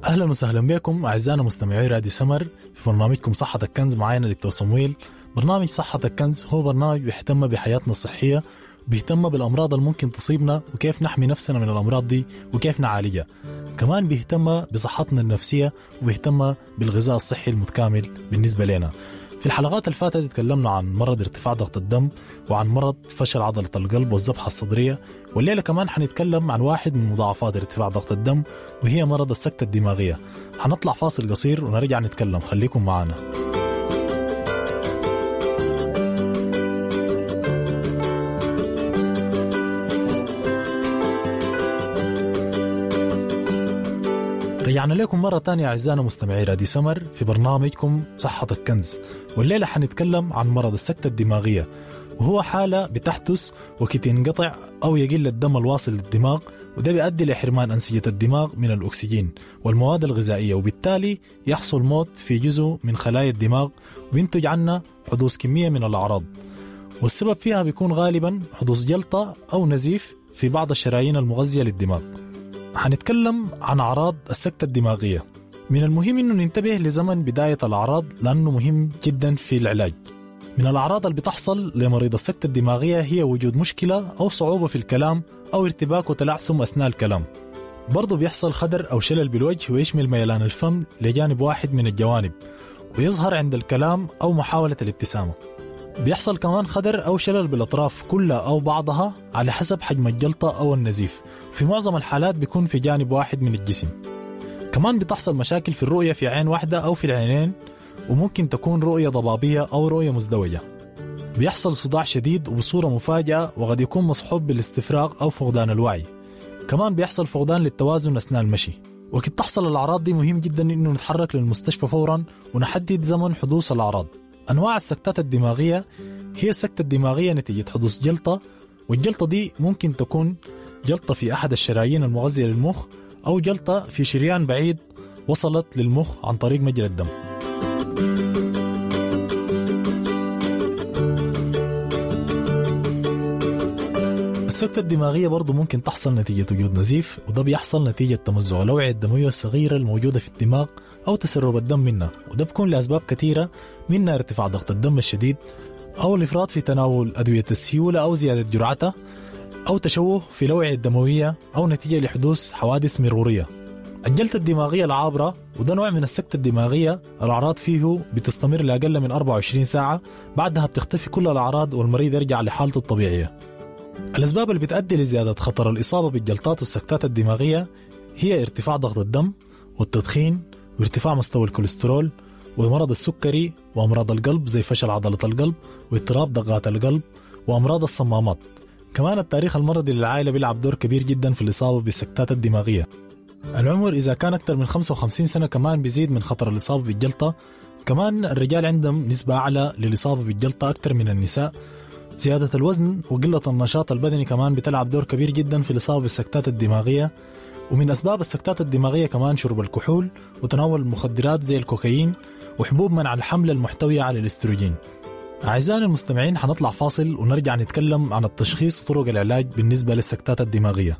أهلا وسهلا بكم أعزائنا مستمعي راديو سمر في برنامجكم صحتك كنز. معانا دكتور صمويل. برنامج صحتك كنز هو برنامج بيهتم بحياتنا الصحية، بيهتم بالأمراض اللي ممكن تصيبنا وكيف نحمي نفسنا من الأمراض دي وكيف نعالجها. كمان بيهتم بصحتنا النفسية وبيهتم بالغذاء الصحي المتكامل بالنسبة لنا. في الحلقات اللي فاتت تكلمنا عن مرض ارتفاع ضغط الدم وعن مرض فشل عضلة القلب والذبحة الصدرية، والليلة كمان حنتكلم عن واحد من مضاعفات ارتفاع ضغط الدم وهي مرض السكتة الدماغية. حنطلع فاصل قصير ونرجع نتكلم، خليكم معنا. رجعنا لكم مرة تانية أعزائنا مستمعي راديو سمر في برنامجكم صحتك كنز، والليلة حنتكلم عن مرض السكتة الدماغية، وهو حالة بتحدث وقت ينقطع أو يقل الدم الواصل للدماغ، وده بيؤدي لحرمان أنسجة الدماغ من الأكسجين والمواد الغذائية، وبالتالي يحصل موت في جزء من خلايا الدماغ وينتج عنه حدوث كمية من الأعراض، والسبب فيها بيكون غالبا حدوث جلطة أو نزيف في بعض الشرايين المغذية للدماغ. حنتكلم عن أعراض السكتة الدماغية. من المهم إنه ننتبه لزمن بداية الأعراض لأنه مهم جدا في العلاج. من الأعراض اللي بتحصل لمريض السكتة الدماغية هي وجود مشكلة أو صعوبة في الكلام أو ارتباك وتلعثم أثناء الكلام. برضو بيحصل خدر أو شلل بالوجه ويشمل ميلان الفم لجانب واحد من الجوانب ويظهر عند الكلام أو محاولة الابتسامة. بيحصل كمان خدر أو شلل بالأطراف كلها أو بعضها على حسب حجم الجلطة أو النزيف، في معظم الحالات بيكون في جانب واحد من الجسم. كمان بتحصل مشاكل في الرؤية في عين واحدة أو في العينين، وممكن تكون رؤية ضبابية أو رؤية مزدوجة. بيحصل صداع شديد وبصورة مفاجئة وقد يكون مصحوب بالاستفراغ أو فقدان الوعي. كمان بيحصل فقدان للتوازن أثناء المشي. وقت تحصل الأعراض دي مهم جدا إنه نتحرك للمستشفى فورا ونحدد زمن حدوث الأعراض. أنواع السكتات الدماغية هي السكتة الدماغية نتيجة حدوث جلطة، والجلطة دي ممكن تكون جلطة في أحد الشرايين المغذية للمخ أو جلطة في شريان بعيد وصلت للمخ عن طريق مجرى الدم. السكتة الدماغية برضو ممكن تحصل نتيجة وجود نزيف، وده بيحصل نتيجة تمزع الأوعية الدموية الصغيرة الموجودة في الدماغ أو تسرب الدم منها، وده بيكون لأسباب كثيرة منها ارتفاع ضغط الدم الشديد أو الإفراط في تناول أدوية السيولة أو زيادة جرعتها أو تشوه في الأوعية الدموية أو نتيجة لحدوث حوادث مرورية. الجلطة الدماغية العابرة، وده نوع من السكتة الدماغية الأعراض فيه بتستمر لأقل من 24 ساعة، بعدها بتختفي كل الأعراض والمريض يرجع لحالته الطبيعية. الأسباب اللي بتؤدي لزيادة خطر الإصابة بالجلطات والسكتات الدماغية هي ارتفاع ضغط الدم والتدخين وارتفاع مستوى الكوليسترول ومرض السكري وأمراض القلب زي فشل عضلة القلب واضطراب دقات القلب وأمراض الصمامات. كمان التاريخ المرضي للعائلة بيلعب دور كبير جدا في الإصابة بالسكتات الدماغية. العمر إذا كان أكثر من 55 سنة كمان بيزيد من خطر الإصابة بالجلطة. كمان الرجال عندهم نسبة أعلى للإصابة بالجلطة أكثر من النساء. زيادة الوزن وقلة النشاط البدني كمان بتلعب دور كبير جدا في الإصابة بالسكتات الدماغية. ومن أسباب السكتات الدماغية كمان شرب الكحول وتناول المخدرات زي الكوكايين وحبوب منع الحمل المحتوية على الاستروجين. أعزائنا المستمعين حنطلع فاصل ونرجع نتكلم عن التشخيص وطرق العلاج بالنسبة للسكتات الدماغية.